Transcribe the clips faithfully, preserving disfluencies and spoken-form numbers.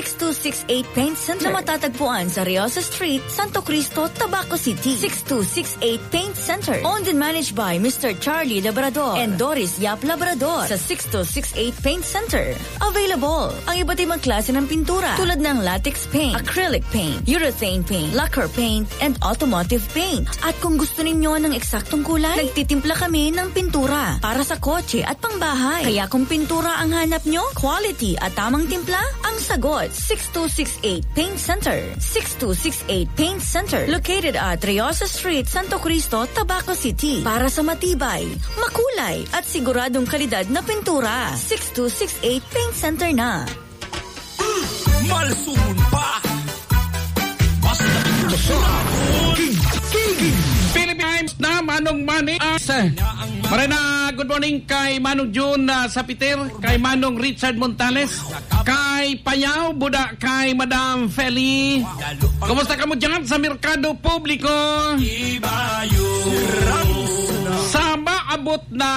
six two six eight Paint Center na matatagpuan sa Riosa Street, Santo Cristo, Tabaco City. Six two six eight Paint Center. Owned and managed by Mister Charlie Labrador and Doris Yap Labrador. Sa six two six eight Paint Center, available ang iba't ibang klase ng pintura tulad ng latex paint, acrylic paint, urethane paint, lacquer paint, and automotive paint. At kung gusto ninyo ng eksaktong kulay, nagtitimpla kami ng pintura para sa kotse at pangbahay. Kaya kung pintura ang hanap nyo, quality at tamang timpla ang sagot. Six two six eight Paint Center. Six two six eight Paint Center. Located at Riosa Street, Santo Cristo, Tabaco City. Para sa matibay, makulay, at siguradong kalidad na pintura, six two six eight Paint Center na. Malsumon pa. Basta Philippine Times na Manong Manny. Ah, sa, Marina, good morning kay Manong Jun, ah, Sapiter, kay Manong Richard Montales, kay Payao, Buda, kay Madam Feli. Kumusta kamo dyan sa merkado publiko? Sa maabot na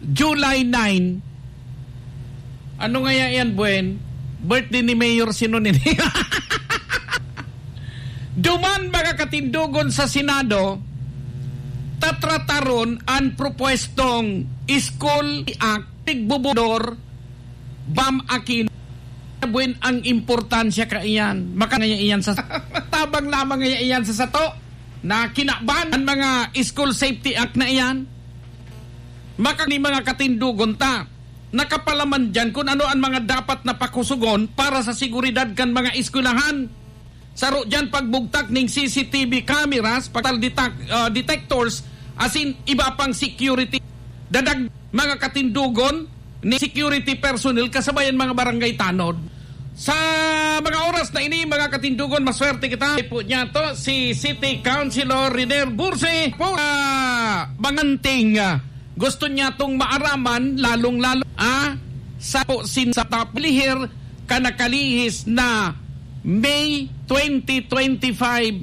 July nine. Ano ngaya yan, Buen? Birthday ni Mayor Sino nini? Duman mga katindugon sa Senado, tatrataron an propuestong School Act, tigbubudor, Bam Aquino. Buen, ang importansya kaiyan. Maka ngaya iyan sa tabang lamang ngaya iyan sa sato na kinaban an mga School Safety Act na iyan. Maka ni mga katindugon ta, nakapalaman diyan kun ano an mga dapat na pakusugon para sa seguridad kan mga eskwelahan. Saro diyan pagbugtak ning C C T V cameras, pagtal detak-, ah, detectors, asin iba pang security. Dadag mga katindugon ni security personnel kasabay an mga barangay tanod. Sa mga oras na ini, mga katindugon, maswerte kita. Po niya to, si City Councilor Riner Burse po, ah, manganting, ah, gusto niya tong maaraman, lalong-lalo, ah, sa po sin sa taplihir ka nakalihis na May twenty twenty-five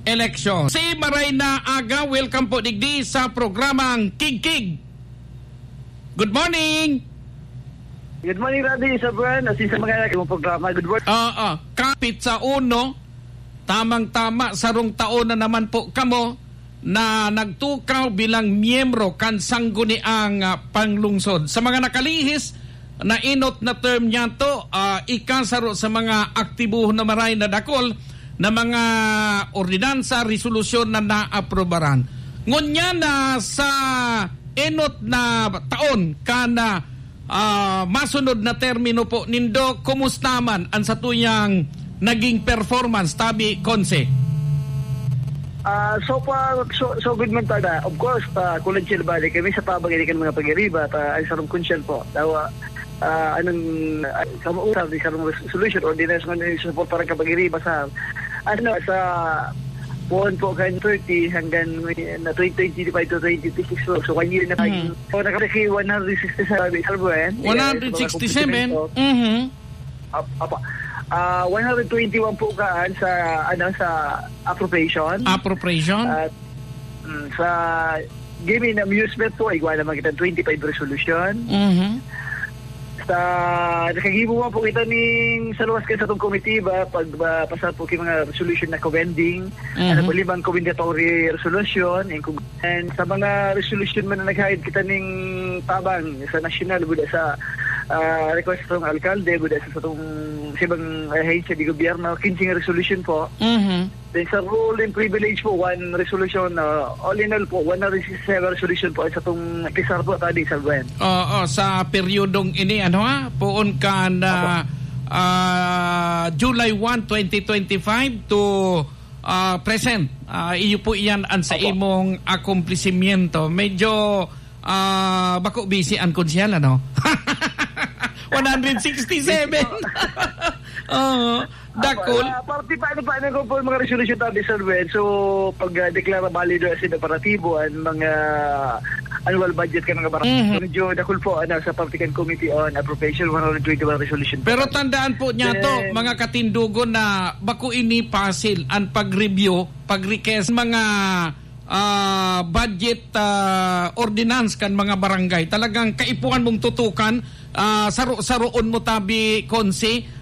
election. Si Maray na Aga, welcome po digdi sa programang Kigkig. Good morning! Good morning, Rabi, sa Buen, at sa mga nakikinig mong programa. Good morning. Oo, kapit sa uno, tamang-tama, sarong taon na naman po kamo na nagtukaw bilang miyembro kan Sangguniang, ah, Panglungsod. Sa mga nakalihis na enot na term niyato, ah, ika saro sa mga aktibo na maray na dakul na mga ordinansa, resolusyon na naaprobaran. Ngunyan na sa enot na taon kan, ah, masunod na termino po nindo, kumusta man an satuyang naging performance, tabi, Konse? Ah, so far, so, so good man talaga. Of course, ah, kulang siya balik kami sa tabang ini kan mga pag-iriba at, ah, ang sarong kunsyal po. Dawa, ah, anong, ah, sa mausap, di sarong res-, solution, ordinance man yung suportaran ka pag-iriba sa, ano, sa puon po kan thirty hanggang may, na twenty twenty-five to twenty twenty-six. So, so, one year na tayo. Mm. So, nakalaki one hundred sixty-seven, Sir Buen. One hundred sixty-seven? Yes, mga kompetimento. Mhm. Ap-, apa. Ah, one hundred twenty-one po kaan sa, ano, sa appropriation. Appropriation? At, mm, sa gaming and amusement po, igwa naman kita twenty-five resolution. Mhm. Sa, nakagibo man po kita ning sa luwas kan satong komitiba, pag, ah, pasar po kay mga resolution na commending, Mhm. ano po, limang commendatory resolution, and kung And sa mga resolution man na naghahid kita ning tabang sa nasyonal, buda sa, ah, request sa alkalde, buda sa, sa tong, sa ibang ahensya di gobyerno, quince nga resolution po. Mhm. Then sa rule and privilege po, one resolution, ah, all in all po, one hundred sixty-seven resolution po sa tong pisar po, tadi, Sir Gwen. Oo, sa peryodong ini, ano ha, poon kan, Opo. ah, July one, twenty twenty-five to ah, present. Ah, iyo po iyan ang sa Opo. imong akomplisisyento. Medyo, ah, bako busy ang konsyal, ano? One hundred sixty-seven. Busy po. Oo. Dakul. Opo, ah, parte pa, ano pa, ano ko po, mga resolution tabi, Sir Wen. So, pag, ah, deklara balido as in operatibo, ang mga annual budget ka ng barangay. Mhm. Medyo dakul po, ano, sa Public and Committee on Appropriation, one hundred twenty-one resolution po. Pero tandaan po niya to, Then mga katindugon, na bako ini pasil ang pag-review, pag-request, mga, ah, budget, ah, ordinance kan mga barangay. Talagang kaipuhan mong tutukan, ah, saro-saroon mo tabi, Konsi,